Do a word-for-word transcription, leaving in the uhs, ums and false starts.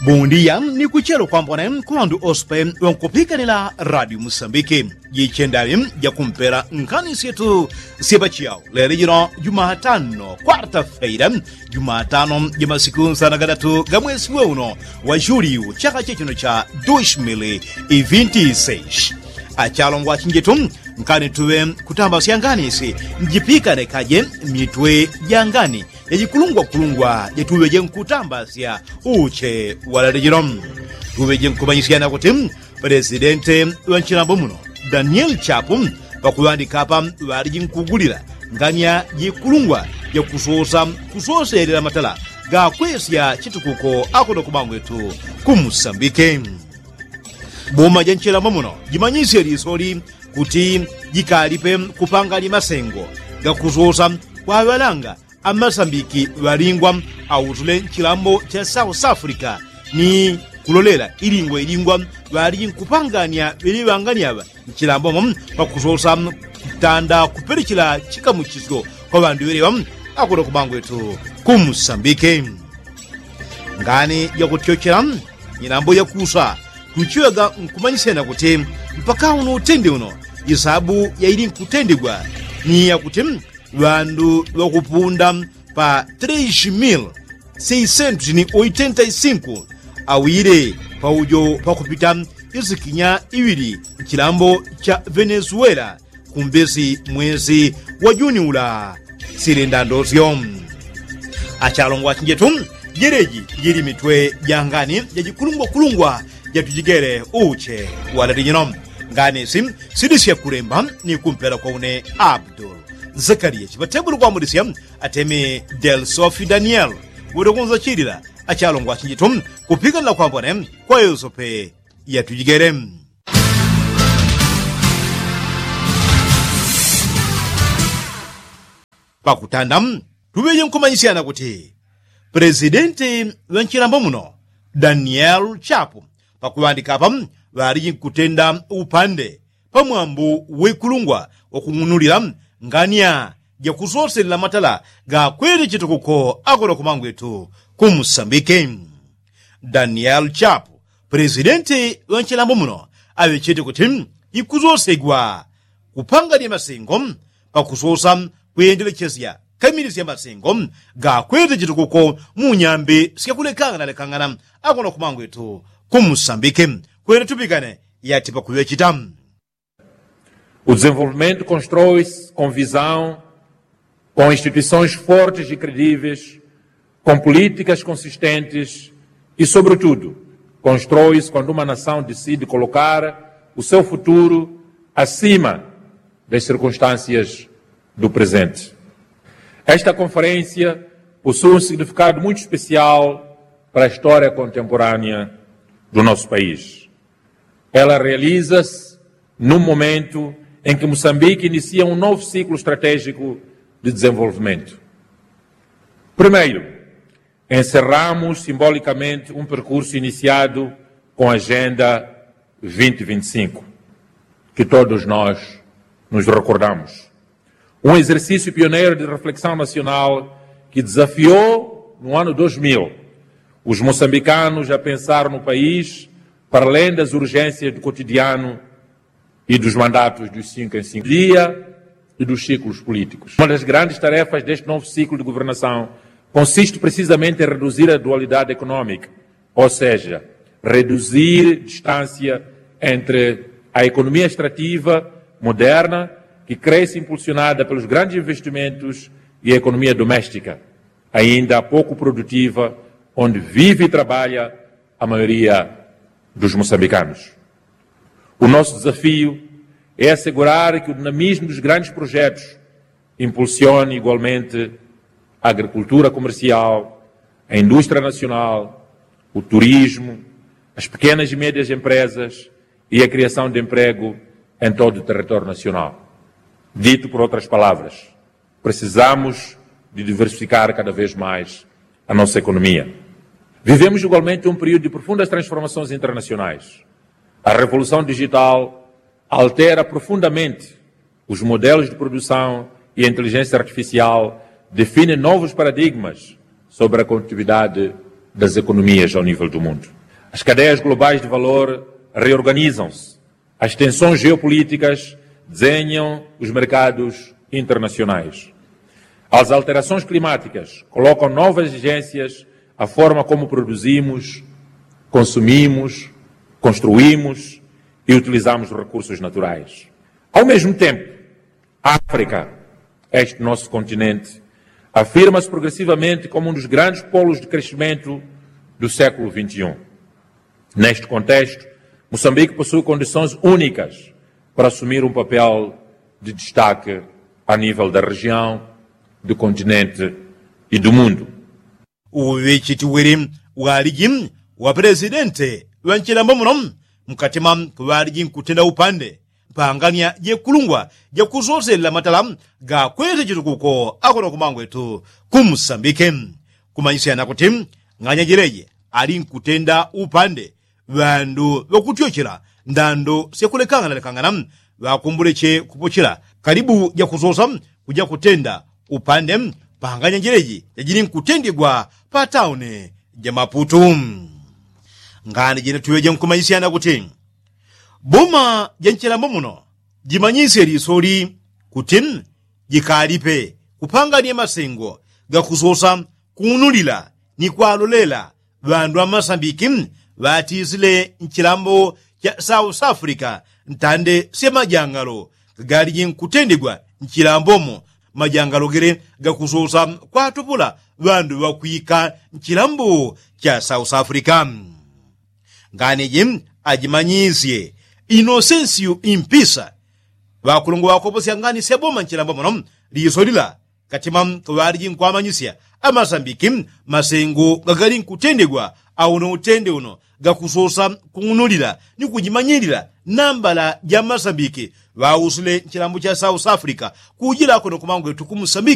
Bundiya ni kuchelo kwambone ku ŵandu ospe ŵankupikanila radio musambiki. Jichendaŵi jakumpela nkhani syetu syepachiyawo lelo jino jumatano kwarta feila, jumatano jamasiku nsana gadatu ga mwesi weuno wa juliyu chaka chechino cha dushmili ivinti seshi. Achalongwa chinjetu, nkani tuŵe kutambasya ngani si njipikane kaje mitwe ja ngani yajikulungwakulungwa jatuŵeje nkutambasya uche walale jino. Tuŵeje nkumanyisyana kuti pelesidente ŵa nchilambo muno danieli chapu pakuŵandika apa ŵaliji nkugulila ngani ya jikulungwa jakusosa kusoselela matala gakwesya chitukuko akono kumangwetu kumusambike. Boma ja nchilambo muno jimanyisye lisoli kuti jikalipe kupangani masengo gakusosa kwaŵalanga amasambiki ŵalingwa autule nchilambo cha south africa ni kulolela ilingwa ilingwa ŵaliji nkupangania ŵeleŵangani aŵa nchilambo mo pakusosa kutanda kupelechela chikamuchisyo kwa ŵandu ŵeleŵa akono kumangwetu kumusambike. Ngani jakutyochela nyilambo yakusa tuchiŵaga nkumanyisyana kuti mpaka uno utende uno isabu yaili nkutendegwa ni yakuti ŵandu ŵakupunda pa tres mil seiscentos ni oitenta i cinco awile paujo pakupita isikinya iŵili nchilambo cha venezuela kumbesi mwesi wa juni ula. Silenda ndosyo achalongwa chinjetu jeleji jili mitwe ja ngani jajikulungwakulungwa jatujigele uche walali jino. Ngani si sidisya kulemba ni kumpela kwa une abdul zakariya chipategule kwambulisya atemi del sofi daniel. Ulekunza chilila achalongwa chinjetu kupikanila kwambone kwa yosope yatujigele. Pakutanda tuŵeje nkumanyisyana kuti pelesidenti ŵa nchilambo muno danieli chapu pakuŵandika apa ŵaliji nkutenda upande pamwambu wikulungwa wakung'unulila ngania jakusoselela matala gakwete chitukuko akono kumangwetu kumusambike. Danieli chapu pelesidenti ŵa nchilambo muno aŵechete kuti ikuzosegwa kupangania masengo pakusosa kuyendelechesya kamili sya masengo gakwete chitukuko mu nyambi syakulekanganalekangana akono kumangwetu kumusambike. Kwene tupikane yati pakuŵechita. O desenvolvimento constrói-se com visão, com instituições fortes e credíveis, com políticas consistentes e sobretudo constrói-se quando uma nação decide colocar o seu futuro acima das circunstâncias do presente. Esta conferência possui um significado muito especial para a história contemporânea do nosso país. Ela realiza-se num momento em que Moçambique inicia um novo ciclo estratégico de desenvolvimento. Primeiro, encerramos simbolicamente um percurso iniciado com a agenda vinte vinte e cinco, que todos nós nos recordamos. Um exercício pioneiro de reflexão nacional que desafiou no ano dois mil os moçambicanos a pensar no país para além das urgências do cotidiano e dos mandatos dos cinco em cinco dias e dos ciclos políticos. Uma das grandes tarefas deste novo ciclo de governação consiste precisamente em reduzir a dualidade económica, ou seja, reduzir distância entre a economia extrativa moderna, que cresce impulsionada pelos grandes investimentos, e a economia doméstica, ainda pouco produtiva, onde vive e trabalha a maioria dos moçambicanos. O nosso desafio é assegurar que o dinamismo dos grandes projetos impulsione igualmente a agricultura comercial, a indústria nacional, o turismo, as pequenas e médias empresas e a criação de emprego em todo o território nacional. Dito por outras palavras, precisamos de diversificar cada vez mais a nossa economia. Vivemos igualmente um período de profundas transformações internacionais. A revolução digital altera profundamente os modelos de produção e a inteligência artificial define novos paradigmas sobre a competitividade das economias ao nível do mundo. As cadeias globais de valor reorganizam-se. As tensões geopolíticas desenham os mercados internacionais. As alterações climáticas colocam novas exigências à forma como produzimos, consumimos, construímos e utilizamos recursos naturais. Ao mesmo tempo, a África, este nosso continente, afirma-se progressivamente como um dos grandes polos de crescimento do século vinte e um. Neste contexto, Moçambique possui condições únicas para assumir um papel de destaque a nível da região, do continente e do mundo. Uŵechiti wili waliji wa pelesidente ŵa nchilambo muno mkatima kuŵaliji nkutenda upande pangania jekulungwa jakusoselela matala gakwete chitukuko akono kumangwetu ku musambike. Kumanyisyana kuti ng'anya jeleje ali nkutenda upande ŵandu ŵakutyochela ndando syakulekangana lekangana ŵakumbuleche kupochela kalibu jakusosa kuja kutenda upande panganya jeleji jajili nkutendigwa pa tauni ja maputu. Ngani jene tuŵeje nkumanyisyana kuti boma ja nchilambo muno jimanyisye lisoli kuti jikalipe kupangania masengo gakusosa kuunulila ni kwalolela ŵandu amasambiki ŵatisile nchilambo cha south africa ntande sya majangalo gagaliji nkutendigwa nchilambomo majangalo gele gakusosa kwatupula ŵandu ŵakwika nchilambo cha south africa. Ngani ji ajimanyisye inosensiu impisa ŵakulungwa ŵakoposya ngani syaboma nchilambo muno liso lila katima kuŵaliji nkwamanyisya amasambiki masengo gagali nkutendigwa auno utende uno gakusosa kung'unulila ni kujimanyilila nambala ja masambiki ŵausile nchilambo cha south africa kujila kuno kumangwetu ku musambiki.